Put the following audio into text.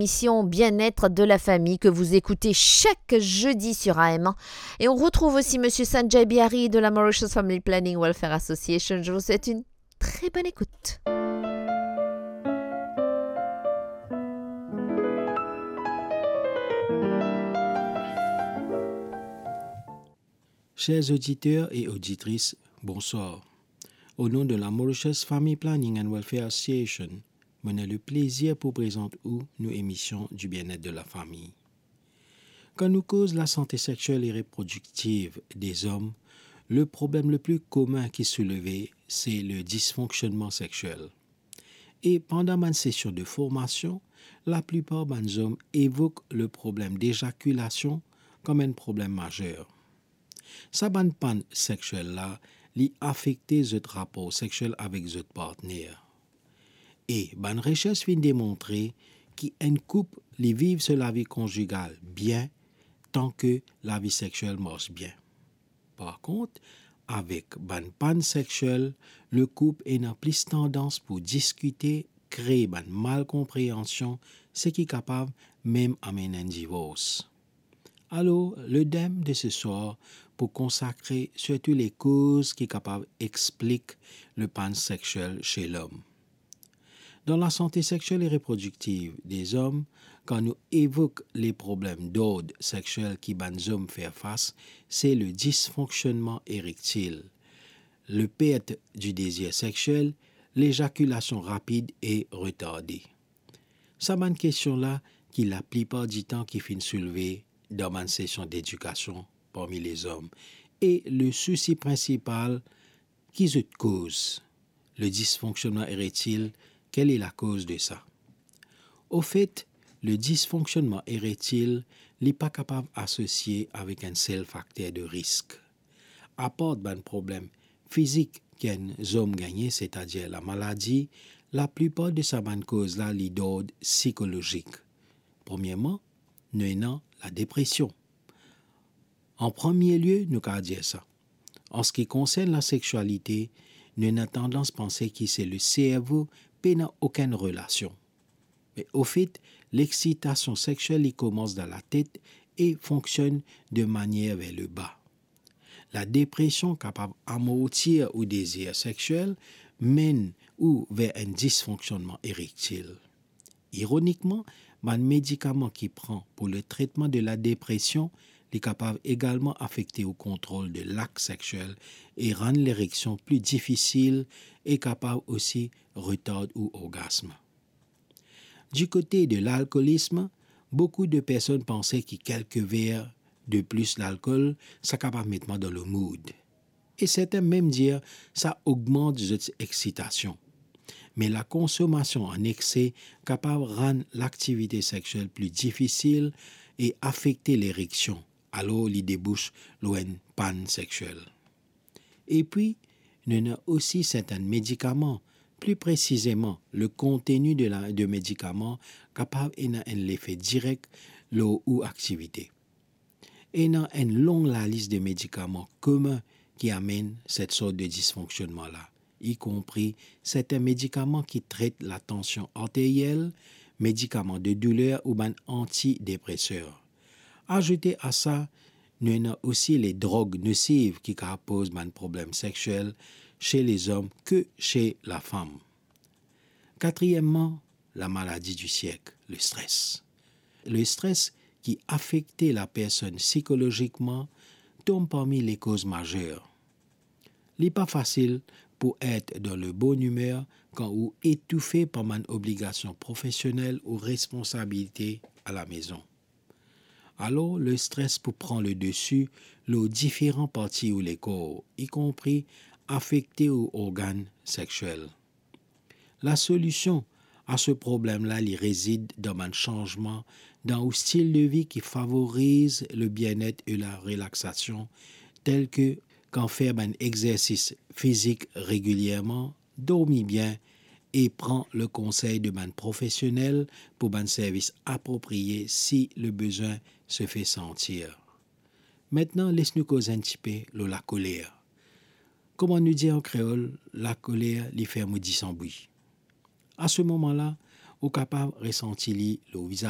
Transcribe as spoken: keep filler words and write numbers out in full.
Émission Bien-être de la famille que vous écoutez chaque jeudi sur A M un. Et on retrouve aussi Monsieur Sanjay Bihari de la Mauritius Family Planning Welfare Association. Je vous souhaite une très bonne écoute. Chers auditeurs et auditrices, bonsoir. Au nom de la Mauritius Family Planning and Welfare Association, mo ena leplezir pou prezant ou nou emision du bien-être de la famille. Kan nou koz lasante sexiel e reprodiktiv dezom, le problem le pli komin ki souleve, se le disfonksionnman sexiel. E pandan bann sesion de formasion, laplipar bann zom evok le problem dezakilasion kom enn problem mazer. Sa bann pann sexiel la, li afekte zot rapor sexiel avek zot partner. E bann resers finn demontre ki enn koup li viv so lavi konzigal bien, tanke lavi sexiel mars bien. Par kont, avek bann pann sexiel, le koup ena plis tandans pou diskite, kree bann malkonpreansion, seki kapav mem amenn enn divors. Alor, le dem de se swar pou konsakre sirtou le koz ki kapav explik le pann sexiel se lom. Dan lasante sexiel e reprodiktiv dezom, kan nou evok le problem dord sexiel ki bann zom fer fas, se le disfonksionnman erektil, le pert du dezir sexiel, lezakilasion rapid e retarde. Sa bann kestion la ki laplipar ditan ki finn soulve dan bann sesion dedikasion parmi lezom. E le sousi prinsipal ki zot koz, le disfonksionnman erektil, kel est la cause de ça? Ofet, le disfonksionnman erektil, li pa kapav asosie avek enn sel fakter de risk. Apar bann problem fizik ki enn zom gagne, setadir lamaladi, laplipar de sa bann koz la, li dord sikolozik. Premierman, nou ena ladepresion. An premie lie, nou kapav dir sa. An se ki konsern lasexialite, nou ena tandans panse ki se le servo pena okenn relasion. Me ofet, lexitasion sexiel li koumans dan latet e fonksionn de manier ver leba. Ladepresion kapav amortir ou dezir sexiel, menn ou ver enn disfonksionnman erektil. Ironikman, bann medikaman ki pran pou le tretman de ladepresion, li kapav egalman afekte ou kontrol de lak sexiel e rann lereksion pli difisil e kapav osi retard ou orgasm. Du kote de lalkolism, boukou de personn panse ki kelke ver de plis lalkol, sa kapav met mwa dan le mood. E sertin mem dir sa ogmant zot exitasion. Me lakonsomasion an exse kapav rann laktivite sexiel pli difisil e afekte lereksion, alor li debous lor enn pann sexiel. Epi, nou ena osi sertin medikaman, pli presizeman, le konteni de la, de medikaman kapav ena enn lefe direk lor ou aktivite. Ena enn long lalis de medikaman komin ki amenn set sort de disfonksionnman la, ikompri sertin medikaman ki tret latansion arteriel, medikaman de douler ou bann antidepreser. Azoute a sa, nou ena osi le drog nosiv ki kapav poz bann problem sexiel se lezom ke se lafam. Katriemman, lamaladi di sierk, le stres. Le stres ki afekte lapersonn sikolozikman tom parmi lekoz mazer. Li pa fasil pou et dan le bon imer kan ou etoufe par bann obligasion profesionel ou responsabilite alamezon. Alor, le stres pou pran le desi lor diferan parti ou lekor, ikonpri afekte ou organn sexiel. Lasolision a se problem la, li rezid dan bann sanzman dan ou stil de vi ki favoriz le bienet e la relaksasion, tel ke kan fer bann exersis fizik regilierman, dormi bien e pran le konsey de bann profesionel pou bann servis apropriye si le bezwin se fer santir. Aster, les nou koz enn tipe lor lakoler. Kouma nou dir an kreol, lakoler, li fer modi san bwi. A se moman la, ou kapav resanti li lor vizaz.